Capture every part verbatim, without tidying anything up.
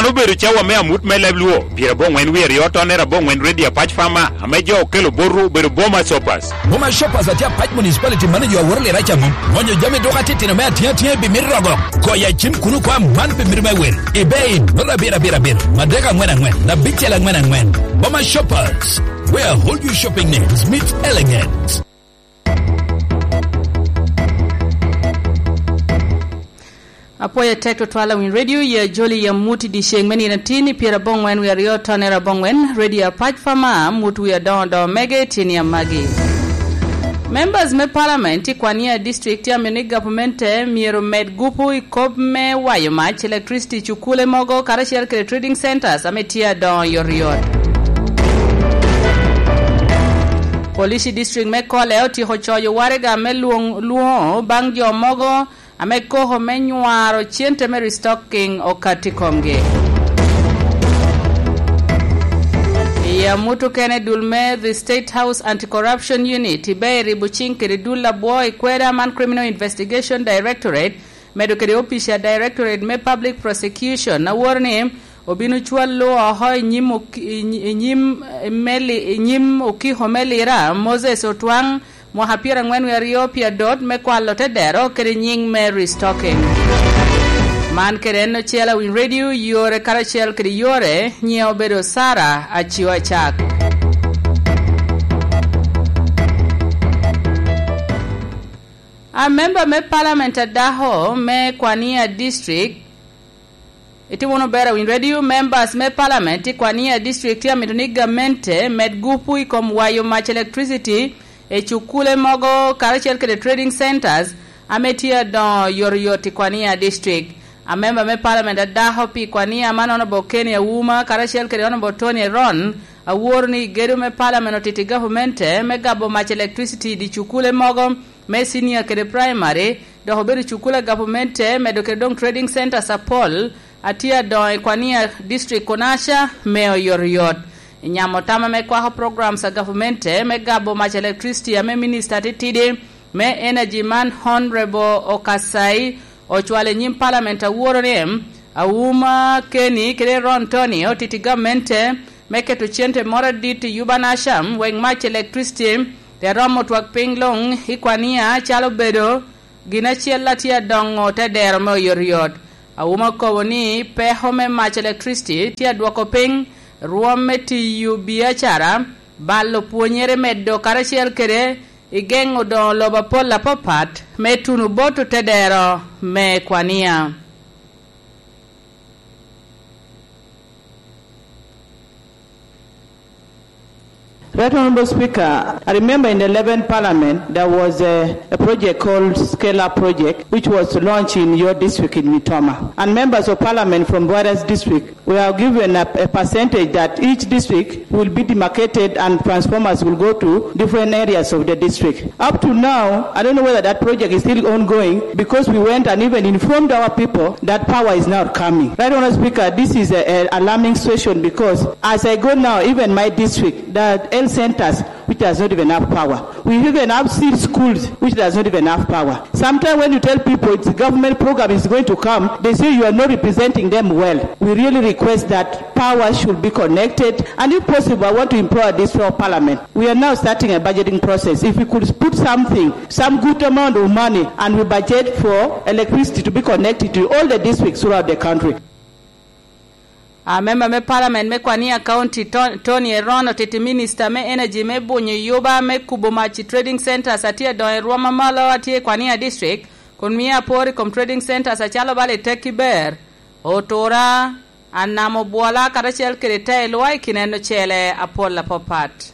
Obedo cawa me amut me leb Luo, pyerabongwen wie aryo tonnere abongwen Ready Apac Farmer, ame jo okelo botwu obedo Boma Shoppers. Boma Shoppers atye Apac Municipality, mano jo aworo lira ca mom. Gonyo jami dok atitino me atyeŋ atyeŋ i bimit rogo. Goyo acim kuno kwa man pi mito me wel. Ibe in, noto abiro abiro abiro, madek angwen angwen, abicel angwen angwen. Boma Shoppers, where hold you shopping needs meet elegance. Apwoyo tek tutwal awiny radio, ya joli ya mut i dyeceŋ me nino atin i pyerabongwen wie aryo tonnere abongwen, radio Apac Farmer, mut wie adoŋo doŋo mege tye ni amagi. Members me Parliament i Kwania District tye amito ni gavumenti myero med gupu i kop me wayo mac, electricity, cukule mogo, karacel kede trading centers ame tye adoŋo yot yot. Police District me Kole otyeko coyo waraga me lwoŋ-, lwoŋo baŋ jo mogo ame koko me nywaro cente me restocking okato i komgi. I amut okene, dul me The State House Anti-Corruption Unit ibe eribo ciŋ kede dul abwo i kweda man Criminal Investigation Directorate, medo kede opic a Directorate me Public Prosecution, aworo ni obino cwallo oko i nyim ok-, i ny-, i nyim, eh, meli, i nyim okiko me Lira, Moses Otwaŋ, mwaka pyerangwen wie aryo pi adot me kwalo te dero kede nyiŋ me restocking. Man kede en ocel awiny radio, yore karacel kede yore, nyiŋe obedo Sarah Acio Acak. A member me Parliament a dako me Kwania District, itimo wunu ber awiny radio, members me Parliament i Kwania District tye amito ni gamente med gupu i kom wayo mac electricity i cukule mogo karacel kede trading centers ame tye adoŋo yot yot i Kwania District. A member me Parliament a dako pi Kwania man Honorable Kenny Auma karacel kede Honorable Tony Eron aworo ni gedo me Parliament otito i gavamente me gabo mac electricity i di cukule mogo me senior kede primary, dok obedo cukul a gavumenti, medo kede doŋ trading centers apol a tye adoŋo i Kwania District kono aca me oyotoyot. I nyamo tam ame kwako programs a gavumenti me gabo mac electricity ame Minista atitidi me Energy man Honorable Okasai ocwalo i nyim Parliament aworo ni, Auma Kenny kede Ron Tony otiti gamente me keto cente moro adit i yuba na cam wek mac electricity te romo twak piny luŋ i Kwania calo bedo gin acel a tye adoŋo te dero me oyotoyot. Auma okobo ni peko me mac electricity tye adwoko piny rwom me tiyo biacara, balo pwonyere medo karacel kede i geŋo doŋo lobo apol apapat me tuno bot otedero me Kwania. Right Honorable Speaker, I remember in the eleventh Parliament there was a, a project called Scale Up Project, which was launched in your district in Mitoma. And members of Parliament from various districts we are given a, a percentage that each district will be demarcated and transformers will go to different areas of the district. Up to now, I don't know whether that project is still ongoing because we went and even informed our people that power is not coming. Right, Honorable Speaker, this is a, a alarming situation because as I go now, even my district, the health centers, which does not even have power. We even have seed schools which does not even have power. Sometimes when you tell people it's government program is going to come, they say you are not representing them well. We really request that power should be connected, and if possible, I want to implore this floor of Parliament. We are now starting a budgeting process. If we could put something, some good amount of money, and we budget for electricity to be connected to all the districts throughout the country. A member me Parliament me Kwania County, To-, Tony Eron, otiti Minister me Energy me bunyo yuba me kubo mac i trading centers a tye adoŋo i rwom amalo a tye i Kwania District, kun mio apor i kom trading centers acalo bala i Tekki Ber, Otura, Anam Obwola, karacel kede Tailwa i kin en ocele apol apapat.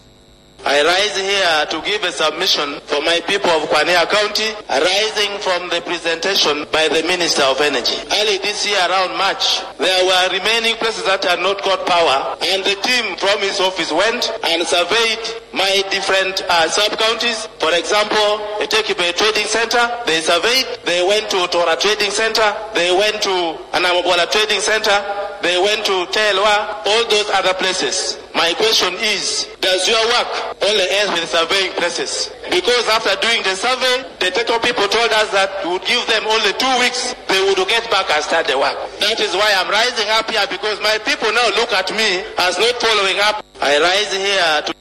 I rise here to give a submission for my people of Kwania County, arising from the presentation by the Minister of Energy. Early this year, around March, there were remaining places that had not got power, and the team from his office went and surveyed my different, uh, sub-counties. For example, Eteke Bay Trading Center, they surveyed, they went to Tora Trading Center, they went to Anam Obwola Trading Center, they went to Tailwa, all those other places. My question is, does your work only end with surveying places? Because after doing the survey, the title people told us that we would give them only two weeks, they would get back and start the work. That is why I'm rising up here, because my people now look at me as not following up. I rise here to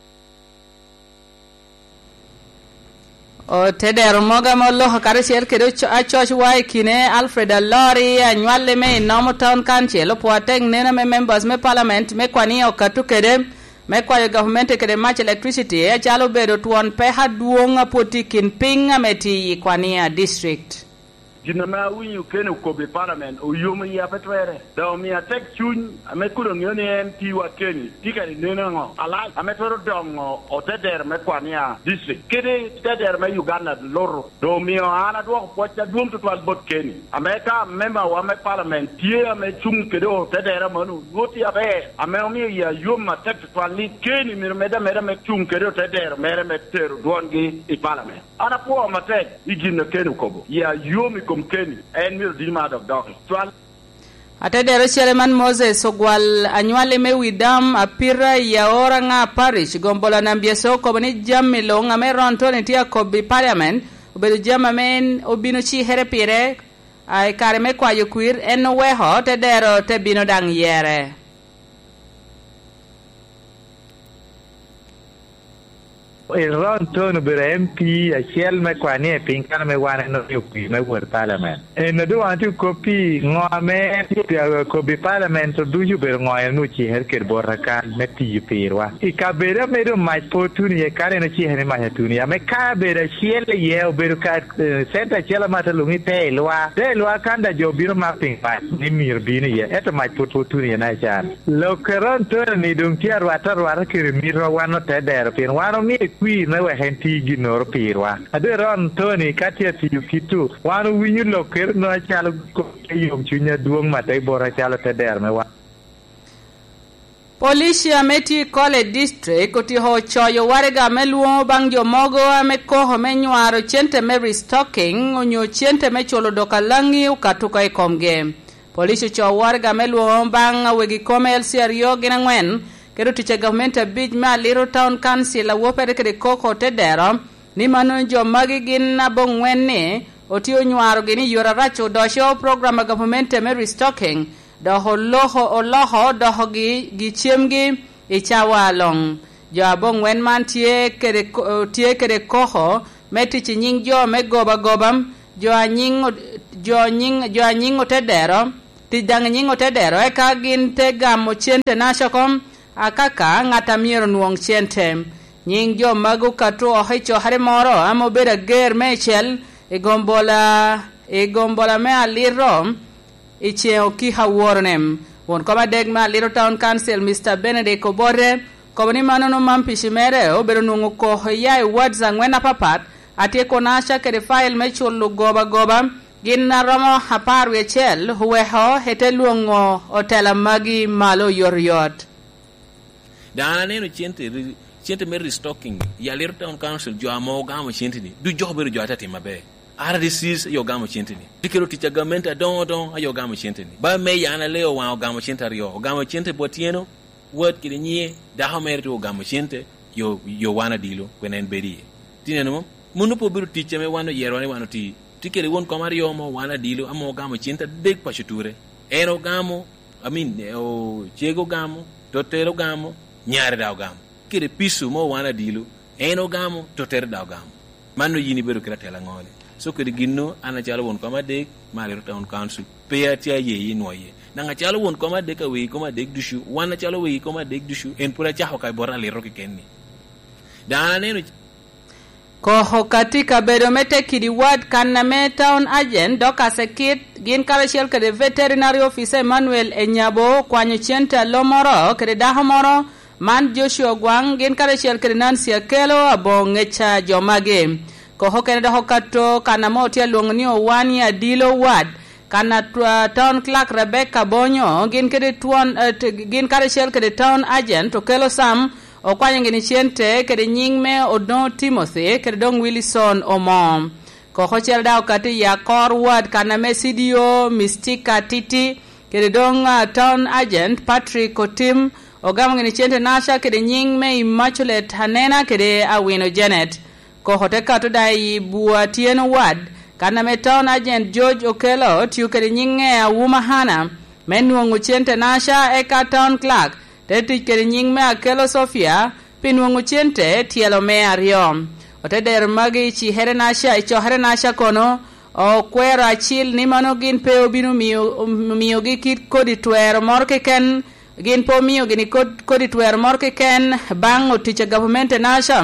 Otedero mogo ame oloko karacel kede oco-, acoc wa i kine, Alfred Alori, anywalli me i Nomo Town Council, opwo atek neno ame members me parliament me Kwania okato kede me kwayo gavumenti kede mac, electricity, acalo obedo twon peko adwoŋ a pwod tye i kin piny ame tye i Kwania District. Gin ame awinyo Kenny okobo i parliament oyomo iya pe twerre. Dok omio atek cuny ame kun oŋeo ni en M P wa Kenny tye kede neno aŋo alac ame twero doŋo otedero me Kwania District kede tedero me Uganda lutu. Dok omio an adwoko pwoc adwoŋ tutwal bot Kenny, ame ka member wa me parliament tye ame cuŋ kede otedero mano, onwoŋo tye aber, ame omio iya yom atek tutwal ni Kenny myero med ameda me cuŋ kede otedero mere me tero dwongi i parliament. An apwoo matek i gin a Kenny okobo. Ya yom i kom Kenny, en myero dini mar dok doki. Cwal. Atedero ocele man Moses Ogwal, anywalli me Widam, Apira i Aora Ŋa Parish, Gombola Nambyese, okobo ni jami luŋ ame Ron Tony tye akobo i parliament obedo jami ame en obino cikere pire, a, i kare me kwayo kwir, en oweko tedero te bino daŋ yere. Ron Tony obedo M P acel me Kwania i piny kan ame wan en orio kwir me wot i parliament. En a doŋ wan tye kop pi ŋo ame en tye kop i parliament, to ducu obedo ŋo en ocikere kede bota kan me tiyo pirwa. I kabedo ame doŋ mac pe otuno iye, kare en ocikere ni mac atuno iye, ame kabedo acel iye obedo ka, eh, center acel ame ate lwoŋo ni te i lwa. Te i lwa kan da jo obino mako piny mac ni myero bino iye, ento mac pwod pe otuno iye na ican. Lok a Ron Tony ni doŋ tye arwate arwata kede mitwa wan otedero, pien wan omie kwir me wek en ti ginnoro pirwa. A doŋ Ron Tony ka tye atiyo kit-tu, wan owinyo lokkere no acalo kop me yomcuny adwoŋ atek bota acalo otedero me wan. Police ame tye i College District otyeko coyo waraga me lwoŋo baŋ jo mogo ame koko me nywaro cente me restocking onyo cente me culo dok alaŋi okato oko i komgi. Police ocoo waraga me lwoŋo baŋ wegi kome L C aryo gin aŋwen, kede otic a gavumenti abic me Aliro Town Council a wopere kede koko otedero, ni mano jo magi gin aboŋwen ni otye onywarogi ni yore arac odoco program a gavumenti me restocking, dok oloko, oloko dokogi gi cemgi i cawa aloŋ. Jo aboŋwen man tye kede ko-, tye kede koko me tic i nyiŋ jo me goba goba, jo a nyiŋ o-, jo nyiŋ, jo a nyiŋ otedero, tic daŋ i nyiŋ otedero, eka gin te gamo cente naca oko, akaka ŋat a myero onwoŋ cente. Nyiŋ jo magi okato oko i cokere moro ame obedo ager meicel i gombola, i gombola me Aliro i ceŋ okiko aworone. Won kom adek me Aliro Town Council, Mister Benedict Obote, okobo ni mano nwoŋo man pici mere obedo nwoŋo koko iya i wards aŋwen apapat, atyeko naca kede file me culo goba goba, gin a romo apar wie acel oweko ete lwoŋo otela magi malo oyotoyot. Dano aneno cente, cente me restocking, i Aliro Town Council, jo ame ogamo cente-ni, duc jo obedo jo ate timo maber. R D Cs aye ogamo cente-ni. Tye kede otic a gamente adoŋo adoŋo aye ogamo cente-ni. Ba meya an aleo waŋ ogamo cente aryo, ogamo cente bot tyeno, wat kede nyiŋe, dako mere tye ogamo cente, yo, yo wan adilo, kwene en bedo iye. Tye neno mo? Mano pe obedo tic ame wan oyero ni wan oti. Tye kede won kom aryo mo, wan adilo, ame ogamo cente adek paco ture. En ogamo, I mean, eh, o-, cege ogamo, tottere ogamo, nyare daŋ ogamo. Kede pico mo wan adilo, en ogamo, tottere daŋ ogamo. Mano yin ibedo kede atela aŋo ni? So kede ginno, an acalo won kom adek, me Aliro Town Council, pe atye aye i nwoye. Daŋ acalo won kom adek a wegi kom adek ducu, wan acalo wegi kom adek ducu, en pwod acako ka bot Aliro keken-ni. Daŋ an aneno Koko ka tye kabedo me Tekidi Ward kan ame Town Agent Dorcas Ekit, gin karacel kede Veterinary Officer Emmanuel Enyabo okwanyo cente a lo moro kede dako moro, man Joshua Ogwaŋ, gin karacel kede Nancy Akello aboŋo ŋec a jo magi. Koko kene dok okato kan ame otye alwoŋo ni Owani Adilo Ward, kan a tw-, a Town Clerk Rebecca Bonyo, gin kede twon, eh, t-, gin karacel kede Town Agent Okello Sam, okwanyo gini cente kede nyiŋ me Odongo Timothy kede doŋ Wilson Omo. Koko ocele daŋ okato i Akor Ward kan ame C D O Mystica Titi kede doŋ, ah, Town Agent Patrick Otim Ogamo gini cente naca kede nyiŋ me Immaculate Anena kede Awino Janet. Koko te kato daŋ i Bua Tyen Wad, kan ame Town Agent George Okello tio kede nyiŋe Awuma Hana me nwoŋo cente naca, eka Town Clerk te tic kede nyiŋ me Akello Sofia pi nwoŋo cente tyelo me aryo. Ote dero magi i cikere naca, i cokere naca kono, okwero acil ni mano gin pe obino miyo, omiogi kit kodi twero moro keken, gin pe omio gini kod-, kodi twero moro keken baŋ otic a gavumenti naca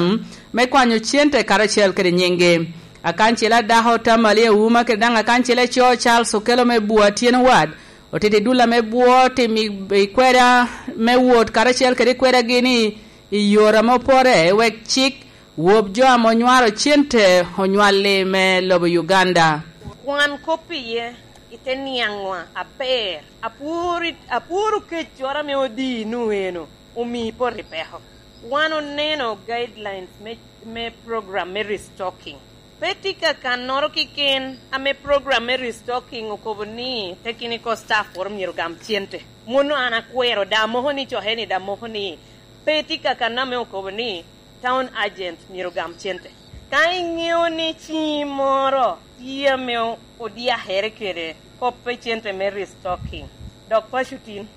me kwanyo cente karacel kede nyiŋgi. Akancel a dako Tamali Awuma kede daŋ akancel a co Charles Okello me Bua Tyen Wad, otito i dul ame bwo timo i, i kweda me wot karacel kede kwedagi ni i yore ame opore, wek cik wop jo ame onywaro cente onywalli me lobo Uganda. Kwan kop iye, ite niaŋwa aber. Apworo, apworo keccoro ame odino eno, omii poto i peko. Wan oneno guidelines me, me program me restocking. Pe tye kakannoro keken ame program me restocking okobo ni technical staff woro myero gam cente. Mono an akwero, da moko ni cokeni, da moko ni pe tye kakanno ame okobo ni town agent myero gam cente. Ka iŋeo ni ciŋi moro tye ame o-, odyakere kede koppe cente me restocking, dok paco tin,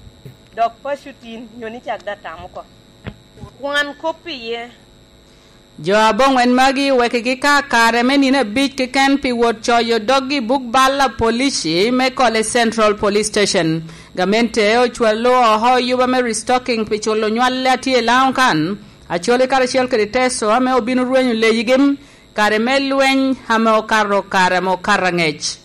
dok paco tin, nyo ni cak da tam oko. Kwan kop iye. Jo aboŋwen magi owekigi ka kare me nino abic keken pi wot coyo doggi i buk bal a polici me Kole Central Police Station. Gamente ocwalo oko yuba me restocking pi culo nywal a tye i Laŋo kan, Acholi karacel kede Teso ame obino rwenyo leyigi kare me lweny ame okato kare ame okato aŋec.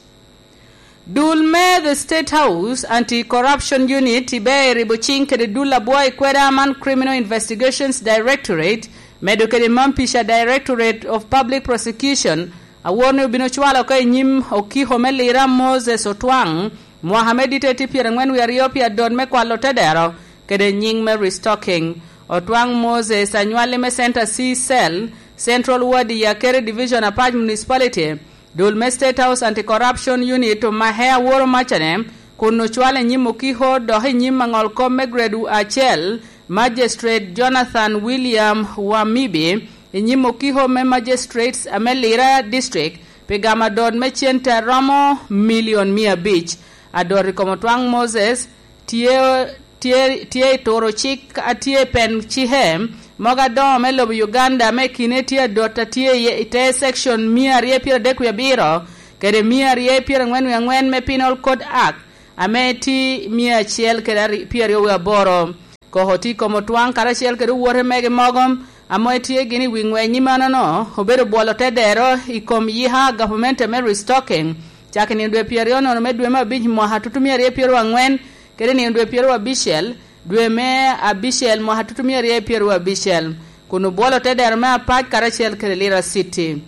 Dul me The State House Anti-Corruption Unit ibe eribo ciŋ kede dul abwo i kweda man Criminal Investigations Directorate, medo kede Mampica Directorate of Public Prosecution, awor ni obino cwalo oko i nyim okiko me Lira Moses Otwaŋ, mwaka me dite tye pyerangwen wie aryo pi adot me kwalo tedero kede nyiŋ me restocking. Otwaŋ Moses anywalli me Center C Cell, Central Ward i Akere Division, Apac Municipality. Dul me State House Anti-Corruption Unit omake aworo macane, kun ocwalo i nyim okiko dok i nyim aŋol kop me grade acel, Magistrate Jonathan William Wamibi, i nyim okiko me Magistrates ame Lira District, pi gamo adot me cente a romo milion mia abic. Adot i kom Otwaŋ Moses tye, tye, tye i turo cik a tye i pen cike mogo adoŋo me lobo Uganda, ame kine tye adot a tye i, i te section mia aryo pyeradek wie abiro kede mia aryo pyerangwen wie angwen me Penal Code Act, ame tye mia acel kede ari-, pyeraryo wie aboro. Koko tye i kom Otwaŋ karacel kede owote mege mogo, ame tye gin i wi ŋweny i manono, obedo bwolo te dero i kom yika gavumenti me restocking, cako i nino dwe pyeraryo nono me dwe me abic mwaka tutumia aryo pyeraryo angwen, kede nino dwe pyeraryo abicel, dwe me abicel mwaka tutumia aryo pyeraryo abicel, kun obwolo te dero me Apac karacel kede Lira City.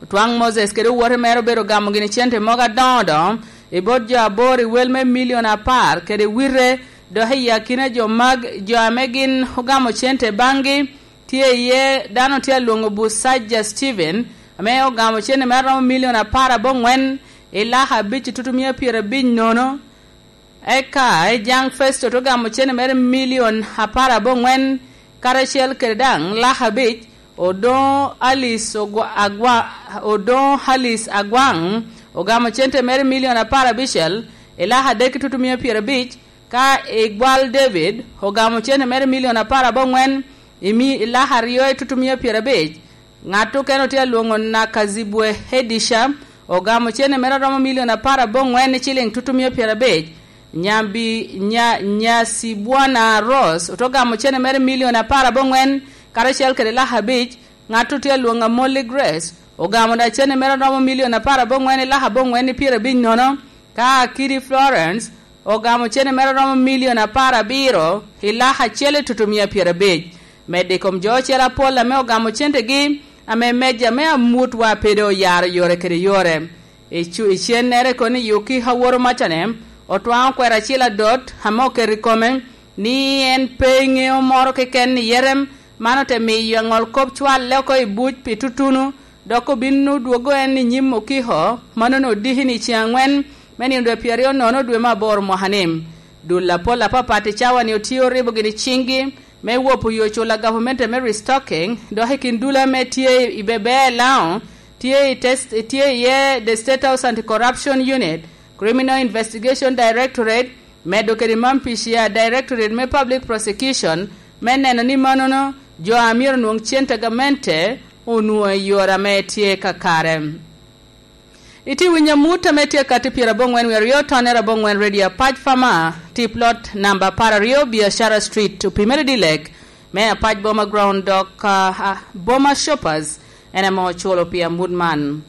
Otwaŋ Moses kede owote mere obedo gamo gini cente mogo adoŋo doŋo i bot jo aboro i wel me milion apar kede wite, dok i akina jo mag, jo ame gin ogamo cente baŋgi, tye iye dano tye alwoŋo Busaja Steven, ame ogamo cente mere romo milion apar aboŋwen i laka abic i tutumia pyerabic nono. Eka Ejaŋ Festo te gamo cene mere milion apar aboŋwen, karacel kede daŋ laka abic, Odoŋo Alice Ogwa-, Agwa-, Odoŋo Alice Agwaŋ ogamo cente mere milion apar abicel i laka adek i tutumia pyerabic, ka Igwal David ogamo cene mere milion apar aboŋwen i mi-, i laka aryo i tutumia pyerabic. Ŋat okene otye alwoŋo Nakazibwe Hedisha, ogamo cene mere romo milion apar aboŋwen i ciliŋ tutumia pyerabic. Nyambi-, nya-, Nyasibwana Rose ote ogamo cene mere milion apar aboŋwen, karacel kede laka abic. Ŋat otye alwoŋo Amolli Grace, ogamo da cene mere romo milion apar aboŋwen i laka aboŋwen i pyerabic nono. Ka Akidi Florence ogamo cene mere romo milion apar abiro i laka acel i tutumia pyerabic. Medde i kom jo ocel apol ame ogamo centegi, ame meja me amut wa pe doŋ oyaro yore kede yore. I cu-, i cennere kono i okiko aworo macane, Otwaŋ okwero acil adot ame oketo i kome ni en pe ŋeo moro keken i Yerem, man ote miyo aŋol kop cwalle oko i buc pi tutunu, dok obino dwogo en i nyim okiko, mano-ni odiki ni ceŋ angwen me nino dwe pyeraryo nono dwe me aboro mwaka-ni. Dul apol apapat i cawa-ni otye oribo gini ciŋgi me wopo yo cula gavumenti me restocking, dok i kin dul ame tye i Bebea i Laŋo, tye i tes-, tye iye the State House Anti-Corruption Unit, Criminal Investigation Directorate, medo kede Mampicia Directorate me Public Prosecution, me neno ni manono jo a myero onwoŋ cente gamente onwoŋo i yore ame tye kakare. Itye winyo amut ame tye akatti pyeraboŋwen wie aryo tonne raboŋwen Radio Apac Farmer, tip lot namba apar aryo, Biashara Street, opimere dilek me Apac Boma Ground, dok, ah, ah, Boma Shoppers en ame oculo pi amut man.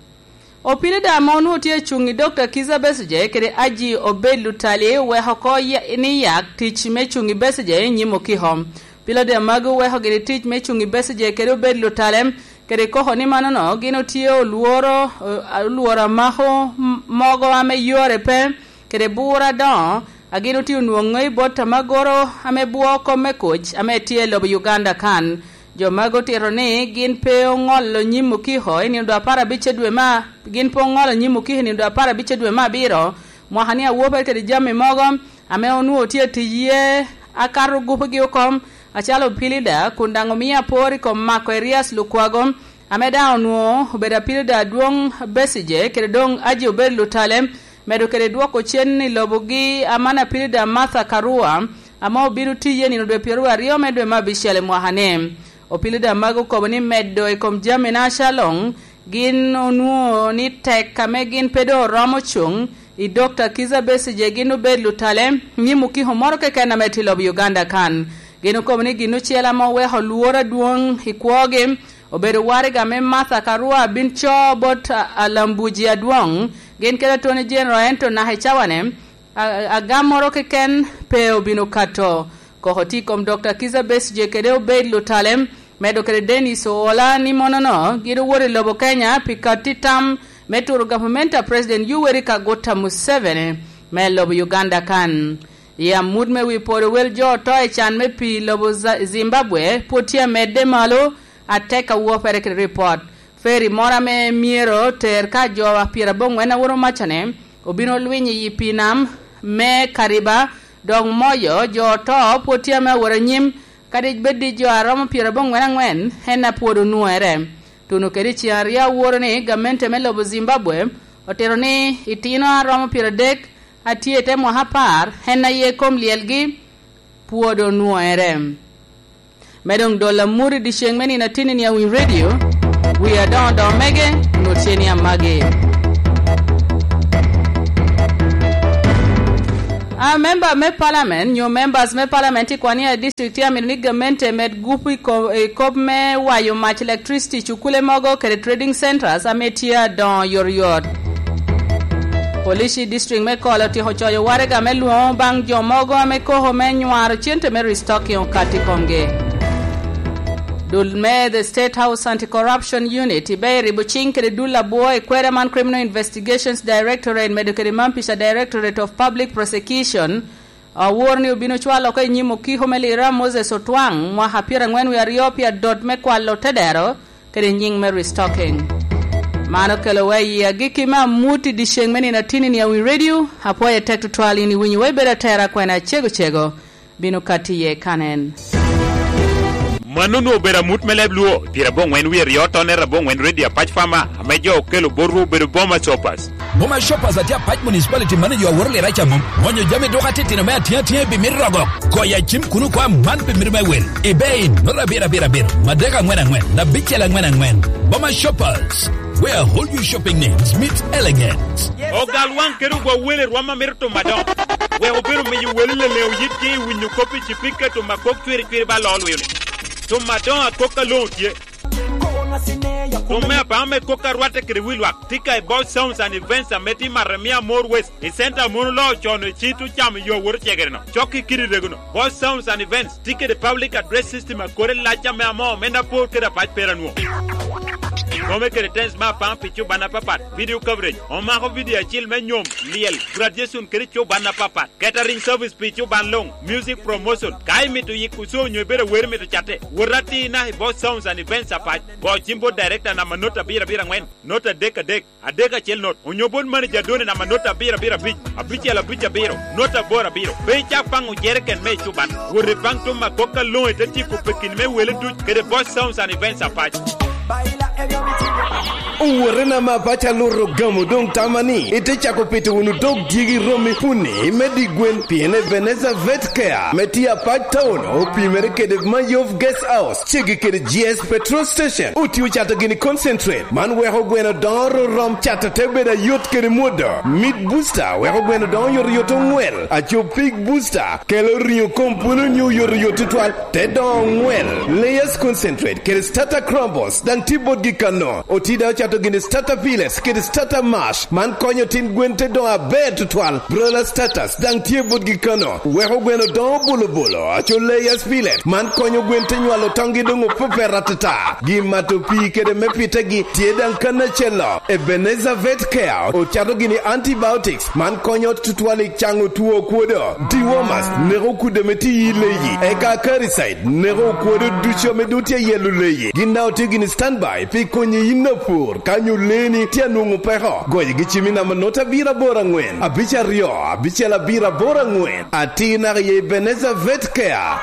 Opilida ame onwoŋo tye acuŋ i Dokta Kizza Besigye kede Aji Obed Lutali oweko oko ya-, ni yak tic me cuŋ i Besigye i nyim okiko. Pilida magi oweko gini tic me cuŋ i Besigye kede Obed Lutale, kede koko ni manono gin otye olworo, eh, olworo amako m-, mogo ame yore pe, kede bura adoŋo, a gin otye onwoŋo i bot amagoro ame bwo kom me kuc ame tye i lobo Uganda kan. Jo magi otito ni gin pe oŋolo nyim okiko i nino dwe apar abic dwe me a-, gin pe oŋolo nyim okiko i nino dwe apar abic dwe me abiro, mwaka ni awopere kede jami mogo, ame onwoŋo tye atic iye, akato gupugi oko, acalo pilida, kun daŋ omio apor i kom Marco Erias Lukwago, ame daŋ onwoŋo obedo apilida adwoŋ Besigye, kede doŋ Aji Obed Lutale, medo kede dwoko cen i lobogi aman apilida Martha Karua, ame obino tiye nino dwe pyeraryo me dwe me abicel i mwaka-ni. Opilida magi okobo ni medo i kom jami-na acaloŋ, gin onwoŋo ni tek ame gin pe doŋ oromo cuŋ i Dokta Kizza Besigye gin obed lutale, nyim okiko moro keken ame tye i lobo Uganda kan. Gin okobo ni gin ocel ame oweko lworo adwoŋ i kwogi obedo waraga me Martha Karua bin co bot a-, alambuji adwoŋ, gin kede Attorney General, ento naka i cawane, a-, a-, agam moro keken pe obino kato. Koko tye i kom Dokta Kizza Besigye kede Obed Lutale, medo kede Dennis Oola ni monono gin owoto i lobo Kenya pi katti tam me turo gavumenti a President Yoweri Kaguta Museveni me lobo Uganda kan. I amut me wi podo wel jo oto i can me pii lobo Za-, Zimbabwe pwod tye amedde malo atek awopere kede ripot. Feri moro ame myero ter ka jo a pyeraboŋwen a woro macane obino lwiny i pii nam me Kariba, dok moyo jo oto pwod tye ame awot anyim, kadi bed ni jo a romo pyeraboŋwen aŋwen en a pwod onwoŋere. Tuno kede i ceŋ aryo aworo ni gamente me lobo Zimbabwe otito ni itino a romo pyeradek a tye i te mwaka apar en aye kom lyelgi pwod onwoŋere. Me doŋ dolo amut i dyeceŋ me nino atinni ni awiny redio, wi adoŋo doŋo mege, onwoŋo tye ni amagi. A member me parliament, nyo members me parliament i Kwania district tye amito ni gamente med gup i ko-, i kop me wayo mac electricity, cukule mogo kede trading centers ame tye adoŋo yoryot. Police i district me Kol otyeko coyo waraga me lwoŋo baŋ jo mogo ame koko me nywaro cente me restocking okato i komgi. Dul me The State House Anti-Corruption Unit ibe iribo ciŋ kede dul abwo i kweda man Criminal Investigations Directorate medo kede Mampica Directorate of Public Prosecution, awor ni obino cwalo oko i nyim okiko me Lira Moses Otwaŋ mwaka pyeraŋwen wie aryo pi adot me kwalo tedero kede nyiŋ me restocking. Man okelo wa i agikki me amut i dyeceŋ me nino atinni ni awiny redio, apwoyo tek tutwal in iwinyo wa ibedo atera kwena cego cego, bino katti iye kanen. Mano onwoŋo obedo amut me leb Luo, pyeraboŋwen wie aryo tonne raboŋwen redio Apac Farmer, ame jo okelo botwu obedo Boma Shoppers. Boma Shoppers atye Apac Municipality manager aworo lira ca mom. Mwonyo jami duka titino me atinga atinga i bimit rogo. Goyo acim kuno kwa man pi mito me wel. Ibe in, nota abiro abiro abiro, madek aŋwen aŋwen, abicel aŋwen aŋwen. Boma Shoppers, where all your shopping needs meet elegance. Ogal waŋ kede ogwa wele rwom a mito tumo adoŋo. Wek obedo miyo wele leleŋo yitgi i winyo kop i cipika tumo akok cwiri cwiri ba loo lwilo. Tumo adoŋo akok aloŋo tye. Kom me apaŋo me kok a rwatte kede wi lwak, tika i Boss Sounds and Events ame tye i Maremia More West, i center a mon oloo con i cit ocamo yo awot ocegere-no. Cok i kidi rego-no. Boss Sounds and Events tye kede public address system a kore lac ame amoo me Napor kede Apac Peranwo. Kome kede tens me apaŋ pi cuban apapat, video coverage, omako video acil me nyom, lyel, graduation kede cuban apapat, catering service pi cuban luŋ, music promotion. Ka imito yiko show onyo ibedo awero imito catte, wot atir naka i Boss Sounds and Events apac. Go cim bot director namba not abiro abiro aŋwen, not adek adek, adek acel not, onyo bot manager Doni namba not abiro abiro abic, abicel abic abiro, not aboro abiro. Pe icak paŋo jereken me ecuban. Wot ipaŋ tum akok aloŋo ite tyeko pekini me wele duc kede Boss Sounds and Events apac. Owotena ma apac aluto gamo doŋ tama ni ite cako pito wunu dog dyegi romi puni me di gwen, pien Ebenezer Vet Care me tye apac town opimere kede Mayov Guest House, ceggi kede G S Petrol Station. Otye ocato gini concentrate, man weko gweno doŋo ororom, cato te bedo ayot kede mwodo. Meat Booster weko gweno doŋo oyotoyot oŋwel, aco Pig Booster kelo riŋo kom pwolo nyo oyotoyot tutwal, te doŋo oŋwel. Layers Concentrate kede Starter Crumbles daŋ tye botgi kano. Otye daŋ ocato gini Starter Pellets kede Starter Mash, man konyo tin gwen te doŋo aber tutwal. Broiler Starters daŋ tye botgi kano, weko gweno doŋo bolobolo, aco Layers Pellet, man konyo gwen te nywalo toŋgi doŋ opepet atata. Gin mato pii kede me pitegi tye daŋ kan acel-lo. Ebenezer Vet Care ocato gini antibiotics, man konyo tutwal i caŋo two okwodo. Dewormers neko kudde ame tye i leyi, eka Acaricide neko okwodo ducu ame doŋ tye i yelo leyi. Gin daŋ otye gini standby pi konyi yin apur ka nyo leeni tye anwoŋo peko. Goyogi cim i namba not abiro aboro aŋwen, abic aryo, abicel abiro aboro aŋwen. Atir naka i Ebenezer Vet Care.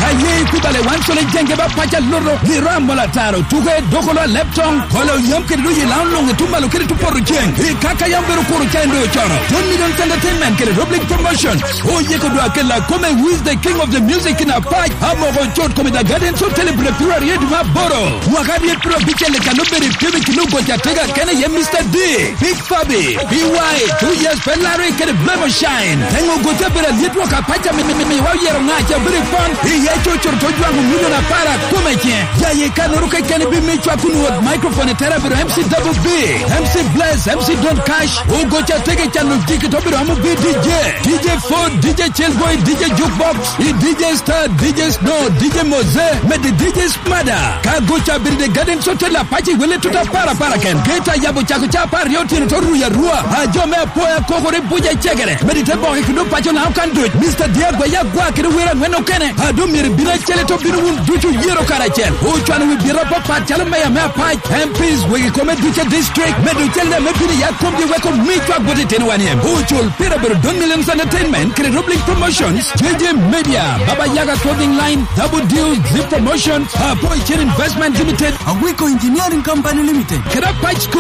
Ka ye ikubale wan colo jenge ba paca luto, giro amol ataro, tuke, dokolo, aleptong, kolo, yam kede doyi, lao luŋ, etum malo kede tupoto ceng. I kaka yam bedo kuro ca endo cono. John Millions Entertainment kede Rob League Promotion. Oyeko dwa kela kome, who is the king of the music in apac. Amoko cot kome, The Gardens Hotel, April piero aryo dwe me aboro. Mwaka aryo piero abicel i kan obedo i pyem i kin ogoc atega kene ye Mister D. Big Fabi, B Y, two years pe Larry kede Blemo Shine. Eŋo gote bedo alyet wok apac ame mi, mi, miwa oyero ŋa ca bedo i pon. Iye cocoro to jwaŋo milion apar akome ce. Ya ye kanoro kekeni bi mi cwak kun wot microphone i tera bedo M C Double B, M C Bless, M C Don Cash. Ogoc atege calo jiki to bedo amo bi D J. D J Ford, D J Chillboy, D J Jukebox, i D J Star, D J Snow, D J Moze, med D J Mada, ka goca bedo i The Gardens Hotel apac i wele tuta para para ken. Geta yabo cako ca apar aryo otyeno to ruyo arua. A jo me apoya kokore buca i cegere. Medi te boke kede opaco na okan duc. Mister Diagwa ya gwa kede wera angwen okene. A do myero bino acel to bino wun ducu yero karacel. Ocwano wi bira papat calo meya me apac, M Ps, wegi kome duce district. Medo cel me bino ya komgi weko mi cwak bot itino wan iem. Ocul pira bedo Don Millions Entertainment kede Rob League Promotions. J J Media, Baba Yaga Clothing Line, Double Deal, Zip Promotion, Apo Chen Investment Limited, Agwiko Engineering Company Limited, kede Apac School.